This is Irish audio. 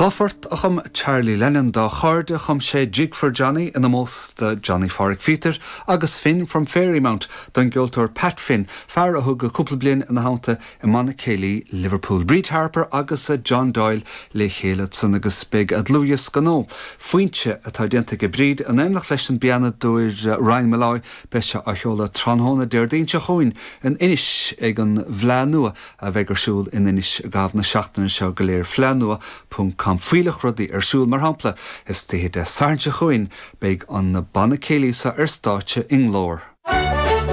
Dha phort a chum Charlie Lennon dá chairde, chum sé Jig for Johnny in omós do Johnny Pháraic Phíotair agus Finn from Fairymount don gceoltóir Pat Finn, fear a thug cúpla bliain ina theannta i mBanna Céilí Liverpool. Bríd Harper agus John Doyle le chéile ansan agus beidh a dlúthdhiosca nua, Foinse, atá déanta aige Bríd in éineacht leis an bpianadóir Ryan Molloy, beidh sé á sheoladh tráthnóna Déardaoin seo chugainn in Inis ag an bhFleadh Nua a bheidh ar siúl in Inis i gcaitheamh na seachtaine seo go léir, fleadhnua ponc com. Fuílleach rudaí ar siúl, mar shampla, istoíche Dé Sathairn seo chugainn beidh an banna céilí seo ar stáitse i nGlór.